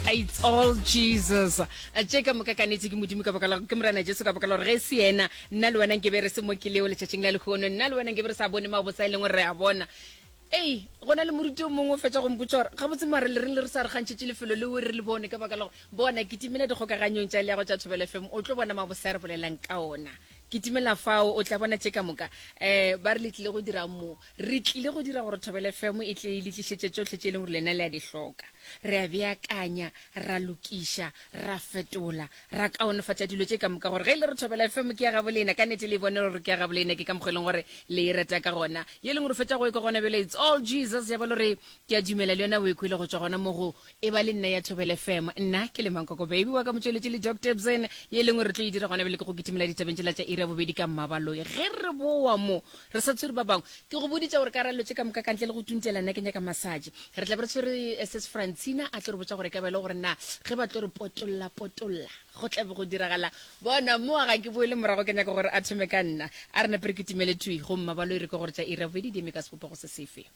It's all Jesus. Tše ka moka ka nete ke Modimo ka baka la ke Morena Jesu ka baka la gore ge e se yena nna le wena nke be re se mo ke leo letšatšing la lehono nna le wena nke be re sa bone mabotse a e leng gore re a bona. Ei, go na le moruti o mongwe o fetša go mpotša gore gabotse mare le reng le re sa re kgantšhetše lefelo leo re le bone ka baka la gore bona kitimela dikgokaganyong tša leago tša Thobela FM o tlo bona mabose a re bolelang ka ona. Kitimela fao o tla bona tše ka moka. Um ba re le tlile go dira mo. Re tlile go dira gore Thobela FM e tle e le tlišetše tšohle tše e leng gore lena le a di hloka. Re a beakanya, ra lokiša, ra fetola, ra kaonefatša dilo tše ka moka gore ge e le re Thobela FM ke ya gabo lena, ka nnete le e bone gore ke ya gabo lena, ke ka mokgwa e leng gore le e rata ka gona. Ye e leng gore o fetša go e kwa gona bjale, it's all Jesus, ya ba le gore ke a dumela le yona o e kwele go tšwa gona mo go E ba le nna ya Thobela FM. Nna ke le Mankoko Baby wa ka motšweletši le Doc Tebsen, ye e leng gore re tlo e dira gona bjale ke go kitimela ditabeng tšela tša iri ya bobedi ka Mmabaloi. Ge re boa mo, re sa tshwere ba bangwe. Ke go boditše gore ka ra dilo tše ka moka ka ntle le go tuntela nna ke nyaka massage. Re tla be re tshwere Sis Francina a tlo re botša gore e ka ba e le gore na ge ba tlo re potolla potolla go tla be go diragala. Bona moa ga ke boele morago ke nyaka gore a thome ka nna. A re nape re kitimele thwi go Mmabaloi re kwe gore tša iri ya bobedi di eme ka sebopego se sefe.